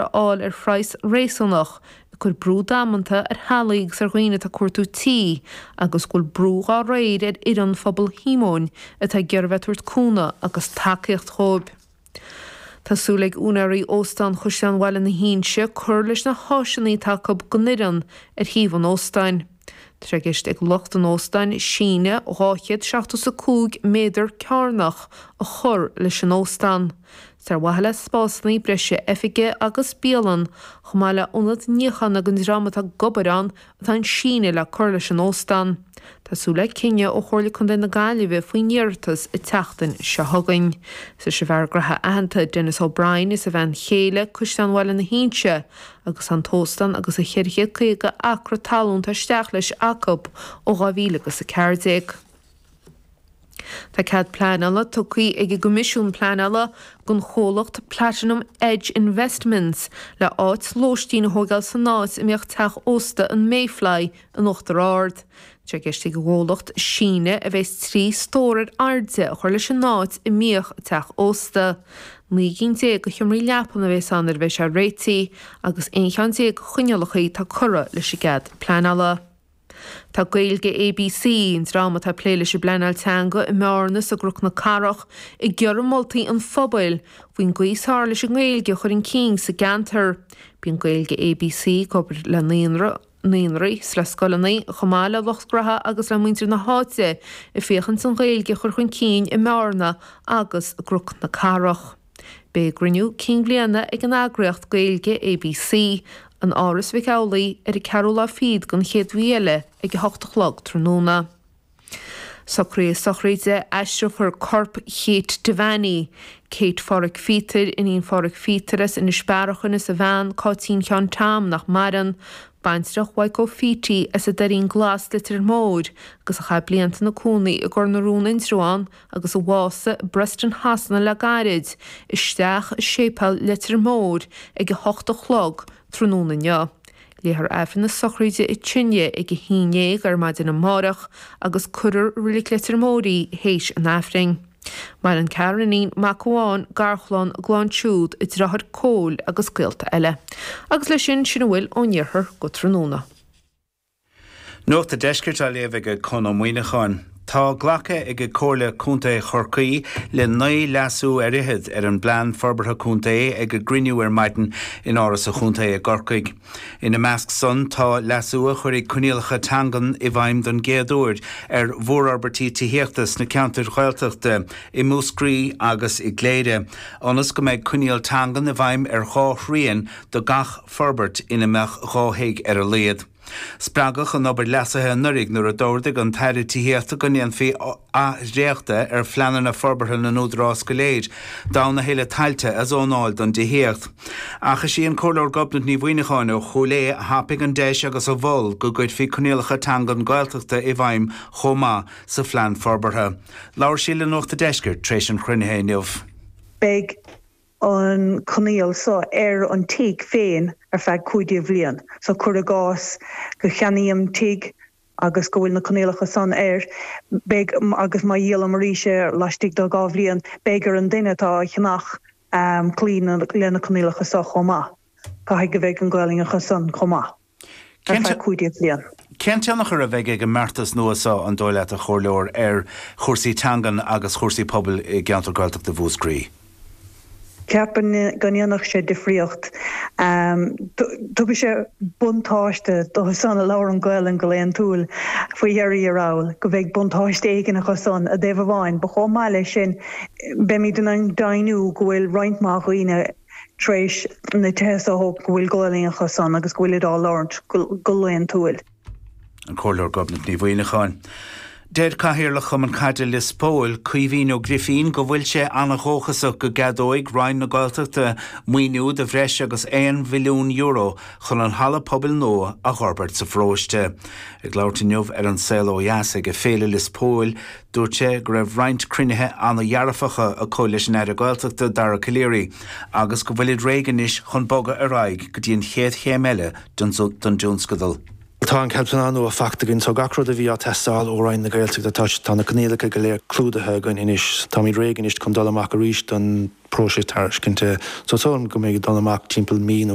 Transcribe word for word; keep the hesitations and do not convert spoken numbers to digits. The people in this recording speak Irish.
a fháil ar phraghas réasúnach, ag cur brú damanta ar theaghlaigh agus ar dhaoine atá ag cuartú tí, agus go bhfuil brú dá réir ar fhoireann Phobal Shíomóin atá ag iarraidh bheith ag tabhairt cúnamh agus tacaíocht dhóibh. Tá súil ag úinéirí Óstán Chaisleán Bhaile na hInse cur leis na háiseanna atá acu don fhoireann ar shuíomh an óstáin. Tá sé i gceist ag lucht an óstáin síneadh dhá chéad seachtó is a cúig méadar cearnach a chur leis an óstán. Is ar mhaithe le spásanna breise oifige agus bialann, chomh maith le ionad níocháin don dream atá ag obair ann atá an síneadh le cur leis an óstán. Tá súil le cinneadh ó Chomhairle Contae na Gaillimhe faoin iarratas an tseachtain seo chugainn. Is leis an bhfear graithe aitheanta Denis O'Brien is a bhean chéile Caisleán Bhaile na hInse agus an t-óstán agus a cheithre chéad caoga acra talún atá isteach leis acu ó dhá mhíle agus a ceathair déag. Tá cead pleanála tugtha ag an gCoimisiún Pleanála don chomhlacht Platinum Edge Investments le áit lóistín a thógáil san áit a mbíodh teach ósta an Mayfly in Uachtar Ard. Tá sé i gceist ag an gcomhlacht síneadh a bheas trí stór ar airde a chur leis an áit a mbíodh an teach ósta. Naoi gcinn déag de sheomraí leapan a bheas ann nuair a bheidh sé réitithe agus aon cheann déag de choinníollacha atá curtha leis an gcead pleanála. Tá Gaeilge ABC, an dream atá ag plé leis an bpleanáil teanga i mBearna is i gCnoc na Cathrach, ag iarraidh moltaí an phobail faoin gcaoi is fearr leis an nGaeilge a chur chun cinn sa gceantar. Bíonn Gaeilge ABC ag obair le naíonra, naíonraí is le scoileanna, chomh maith le lucht graithe agus le muintir na háite, ag féachaint an Ghaeilge a chur chun cinn i mBearna agus i gCnoc na Cathrach. Beidh a gcruinniú cinn bhliana ag an eagraíocht Gaeilge ABC in Áras Mhic Amhlaigh ar an ceathrú lá fichead den chéad mhí eile ag a hocht a chlog tráthnóna. Socruithe sochraide, aistreofar corp Kate Devaney, Kate Pháraic Phíotair, iníon Pháraic Phíotair as Inis Bearachain is a bhean, Cáitín Sheáin Tom, nach maireann, baintreach Mhaidhc Ó Fítí as an Doirín Glas, Leitir Móir, agus a chaith blianta ina cónaí i gCor na Rón Indreabhán agus a bhásaigh i Preston Shasana le gairid, isteach i Séipéal Leitir Móir ag a hocht a chlog tráthnóna inniu. Léifear Aifreann na sochraide i Tine ag a haon déag ar maidin amárach agus cuirfear i Reilig Leitir Móir í théis an Aifrinn. Maireann ceathrar iníon, mac amháin, garchlann, a gclann siúd, a deartháir Cóil agus gaolta eile. Agus leis sin, sin a bhfuil ón iarthar go tráthnóna. Nuacht an Deiscirt á léamh ag Conn Ó Muíneacháin. Tá glactha ag Comhairle Contae Chorcaí le naoi leasú ar fhichead ar an bPlean Forbartha Contae ag a gcruinniú ar maidin in Áras an Chontae i gCorcaigh. Ina measc san tá leasú a chuirfidh coinníollacha teangan i bhfeidhm don gcéad uair ar mhórfhorbairtí tithíochta sna ceantair Ghaeltachta i Múscraí agus i gCléire, ionas go mbeidh coinníoll teangan i bhfeidhm ar dhá thrian de gach forbairt ina mbeadh dhá thigh ar a laghad. Spreagadh an obair leasaithe anuraidh nuair a d'ordaigh an tAire Tithíochta go ndéanfaí athdhréachtadh ar phleananna forbartha na n-údarás go léir d'fhonn a thuilleadh tailte a zónáil don dtithíocht. Ach is í an Comhairleoir Gobnait Ní Mhuineacháin ó Chúil Aodha a thapaigh an deis agus a mhol go gcuirfí coinníollacha teangan Gaeltachta i bhfeidhm chomh maith sa phlean forbartha. Labhair sí le Nuacht a' Deiscirt tar éis an chruinnithe inniu. Beidh an coinníoll so ar an tigh féin ar feadh cúig déag bhliain. So cuir i gcás go cheannaím tigh agus go bhfuil na coinníollacha san air, beidh, agus má dhíolaim arís é laistigh de dhá bhliain, beidh ar an duine atá á cheannach cloí le na coinníollacha so chomh maith. Caithfidh go bheidh an Ghaelainn acu san chomh maith. ar feadh cúig déag bliain. Cén tionchar a bheidh ag an mbeartas nua seo, an dóigh leat, a Chomhairleoir, ar chúrsaí teangan agus chúrsaí pobail i gceantar Gaeltachta Mhúscraí? Ceapaim go ndéanfadh sé difríocht. Tugfaidh sé buntáiste dóibh san a labhrann Gaelainn go laethúil faoi dheireadh thiar thall, go mbeidh buntáiste éigin acu san i dtaobh amháin. But chomh maith leis sin, beimid in ann deimhniú go bhfuil roinnt mhaith dhaoine, tar éis na tithe so a thógaint go bhfuil Gaolainn acu san agus go bhfuilid á labhairt go laethúil. An Comhairleoir Gobnait Ní Mhuineacháin. Deir Cathaoirleach Chumann Caide Lios Póil, Caoimhín Ó Grifín, go bhfuil sé an-dhóchasach go gceadóidh Roinn na Gaeltachta maoiniú de bhreis agus aon mhilliún euro chun an halla pobail nua a dh'fhorbairt sa pharóiste. Ag labhairt inniu ar An Saol Ó Dheas ag Féile Lios Póil, Dúirt sé go raibh roinnt cruinnithe an-dhearfacha acu leis an Aire Gaeltachta Dara Calleary agus go bhfuilid réidh anois chun bogadh ar aghaidh go dtí an chéad chéim eile den dtionscadal. Tá an cead pleanála nua faighte againn so gach rud a bhí á teastáil ó Roinn na Gaeltachta tá tá na coinníollacha go léir clúdaithe againn anois. Táimid réidh anois chun dul amach arís don próiseas tairiscinte so so go mbeidh dul amach timpeall mí nó